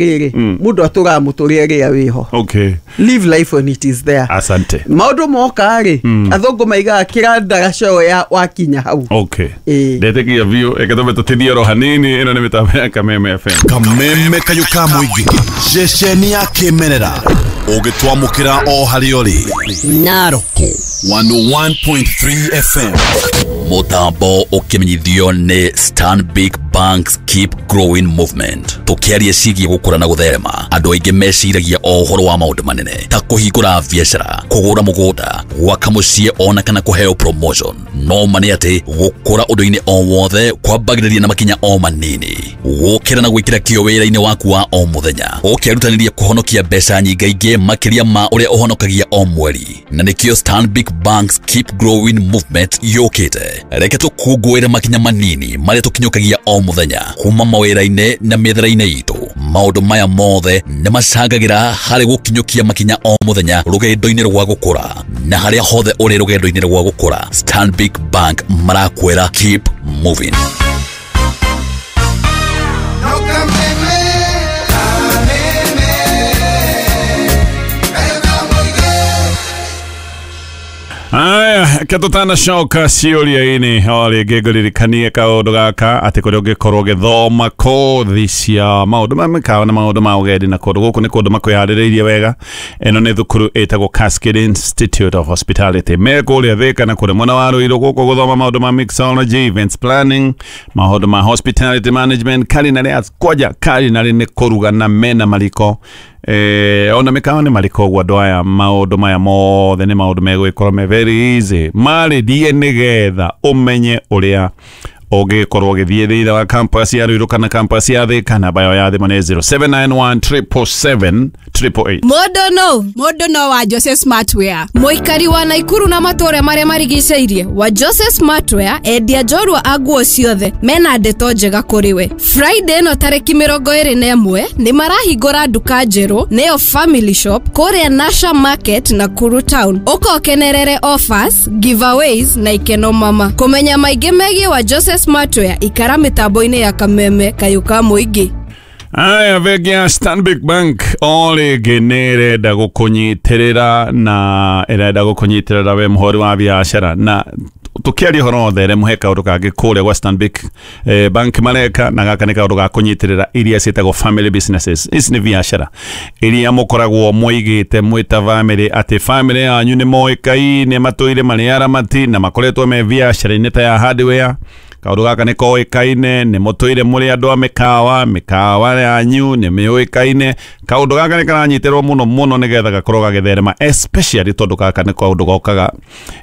Rĩrĩ mũndũ atũraga mũtũrĩre rĩrĩa wĩho. Live life when it is there. Asante. Maũndũ moka rĩ, athũngũ maigaga kĩrandaraca ya wakinya hau. Ĩĩ. Ndetĩkia biũ, reke tũmbe tũtithie oro hanini. Ĩno nĩ mĩtambo ya Kameme FM. Kameme kayũ ka mũingĩ, ceceni ya kĩmerera ũgĩtwamũkĩra o harĩa ũrĩ. Narok 101.3 FM. Mutambo ũkĩmenyithio nĩ Stanbic Banks Keep Growing Movement. Tũkĩaria ciĩgiĩ gũkũra na gũtherema, andũ aingĩ meciragia o ũhoro wa maũndũ manene ta kũhingũra biacara, kũgũra mũgũnda, gwaka mũciĩ ona kana kũheo promotion. No ma nĩ atĩ gũkũra ũndũ-inĩ o wothe kwambagĩrĩria na makinya o manini, gũkĩra na gwĩkĩra kĩo wĩra-inĩ waku wa o mũthenya, ũkĩrutanĩria kũhonokia mbeca nyingaingĩ makĩria ma ũrĩa ũhonokagia o mweri. Na nĩkĩo Stanbic Banks Keep Growing Movement yũkĩte. Reke tũkũngũĩre makinya manini marĩa tũkinyũkagia o mũthenya kuma mawĩra-inĩ na mĩethere-inĩ itũ. Maũndũ maya mothe nĩ macangagĩra harĩ gũkinyũkia makinya o mũthenya rũgendo-inĩ rwa gũkũra. Na harĩa hothe ũrĩ rũgendo-inĩ rwa gũkũra, Stanbic Bank marakwĩra keep moving. Aya, reke tũtanacoka ciũria-inĩ o rĩngĩ ngũririkanie kaũndũ gaka atĩ kũrĩa ũngĩkorwo ũgĩthoma kothi cia maũndũ ma mĩkawa na maũndũ ma ũgendi, na kũndũ gũkũ nĩ kũndũ makwĩharĩrĩirie wega. Ĩno nĩ thukuru ĩtagwo Cascade Institute of Hospitality, me kũrĩa Thĩka na kũrĩa mwena wa Ruiru, gũkũ gũthoma maũndũ ma mixology, events planning, maũndũ ma hospitality management, culinary arts, kwanja culinary nĩ kũruga na mena mariko, ona mĩkawa nĩ mariko. Ũguo andũ aya maũndũ maya mothe nĩ maũndũ megũgĩkorwo me very easy. Marĩrie nĩgetha ũmenye ũrĩa ũngĩkorwo ũgĩthiĩ thĩinĩ wa campus ya Ruiru kana campus ya Thĩka. Namba yao ya thimũ nĩ 0791 777 888. Mũndũ no Mũndũ no wa Jose Smartwear. Mũikari wa Naikuru na matũũra marĩa marigicĩirie, wa Jose Smartwear, endia njorua a nguo ciothe, mena ndeto njega kũrĩ we. Friday ĩno tarĩki 21 nĩ marahingũra nduka njerũ, nĩyo Family Shop, kũrĩa Nasha Market, Nakuru Town. Ũkokenerere offers, giveaways na ikeno mama. Kũmenya maingĩ megiĩ wa Jose Smartwear, ikara mĩtambo-inĩ ya Kameme kayũ ka mũingĩ. Aya, bengi ya Stanbic Bank o rĩngĩ nĩ ĩrenda gũkũnyitĩrĩra, na ĩrenda gũkũnyitĩrĩra we mũhũri wa biacara. Na tũkĩaria ũhoro wa ũtheremu, he kaũndũ kangĩ kũrĩa gwa Stanbic Bank mareka, na gaka nĩ kaũndũ ga kũnyitĩrĩra iria ciĩtagwo family businesses. Ici nĩ biacara iria mũkoragwo mũigĩte mwĩta family, atĩ family yanyu nĩ moĩkaine, matũire marĩ aramati na makoretwo me biacara-inĩ ta ya hardware. Kaũndũ gaka nĩ koĩkaine, nĩ mũtũire mũrĩ andũ a mĩkawa, mĩkawa yanyu nĩ mĩũĩkaine. Kaũndũ gaka nĩ karanyitĩrwo mũno mũno nĩgetha gakorwo gagĩtherema, especially tondũ gaka nĩ kaũndũ gokaga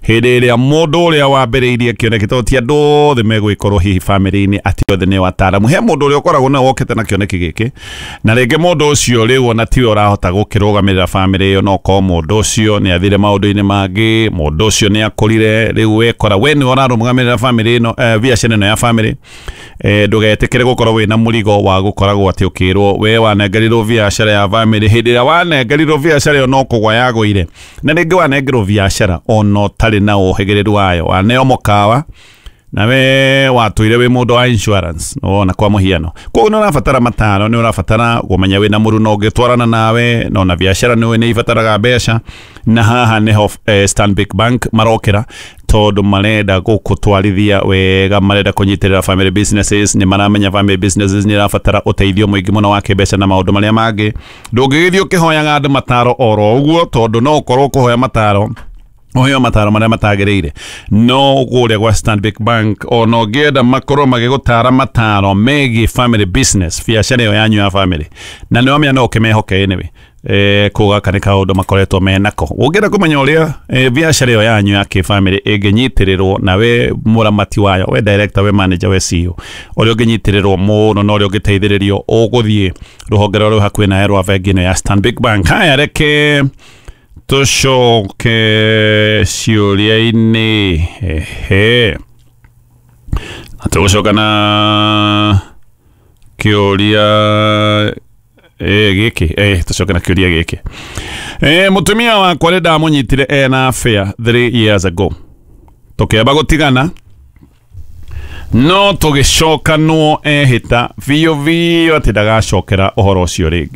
hĩndĩ ĩrĩa mũndũ ũrĩa wambĩrĩirie kĩoneki, tondũ ti andũ othe megũgĩkorwo hihi family-inĩ atĩ othe nĩ wataaramu. He mũndũ ũrĩa ũkoragwo na wokĩte na kĩoneki gĩkĩ, na rĩngĩ mũndũ ũcio rĩu ona tiwe ũrahota gũkĩrũgamĩrĩra family ĩyo, no korwo mũndũ ũcio nĩ athire maũndũ-inĩ mangĩ, mũndũ ũcio nĩ akũrire, rĩu wekora we nĩwe ũrarũgamĩrĩra family ĩno, biacara ĩno ya family. Ndũgetĩkĩre gũkorwo wĩna mũrigo wa gũkoragwo atĩ ũkĩrwo we wanengerirwo biacara ya family. Hĩndĩ ĩrĩa wanengerirwo biacara ĩyo no kũgwa yagũire, na rĩngĩ wanengerwo biacara ona ũtarĩ na ũhĩgĩrĩru wayo, waneo mũkawa na we watũire wĩ mũndũ wa insurance, wona, kwa mũhiano. Koguo nĩ ũrabatara mataro, nĩ ũrabatara kũmenya wĩna mũruno ũngĩtwarana nawe, na ona biacara nĩ nĩ ibataraga mbeca. Na haha nĩho Stanbic Bank marokĩra, tondũ marenda gũkũtwarithia wega, marenda kũnyitĩrĩra family businesses. Nĩ maramenya family businesses nĩ irabatara ũteithio mũingĩ mũno wa kĩmbeca na maũndũ marĩa mangĩ. Ndũngĩgĩthiĩ ũkĩhoyaga andũ mataro oro ũguo, tondũ no ũkorwo kũhoya mataro ũheo mataro marĩa matagĩrĩire. No kũrĩa gwa Stanbic Bank, ona ũngĩenda makorwo magĩgũtara mataro megiĩ family business, biacara ĩyo yanyu ya family, na nĩ wamenya no ũkĩmehoke anyway. Kũu gaka nĩ kaũndũ makoretwo menako. Ũngĩenda kũmenya ũrĩa biacara ĩyo yanyu ya kĩbamĩrĩ ĩngĩnyitĩrĩrwo, na we mũramati wayo, we director, we manager, we CEO, ũrĩa ũngĩnyitĩrĩrwo mũno na ũrĩa ũngĩteithĩrĩrio, ũgũthiĩ rũhonge rũrĩa rwĩ hakuhĩ nawe rwa bengi ĩno ya Stanbic Bank. Haya, reke tũcoke ciũria-inĩ. Ehe, na tũgũcoka na kĩũria gĩkĩ, tũcoke na kĩũria gĩkĩ. Mũtumia wakwa nĩ ndamũnyitire ena affair 3 years ago, tũkĩamba gũtigana. No tũgĩcokanwo ehĩta biũ biũ atĩ ndagacokera ũhoro ũcio rĩngĩ.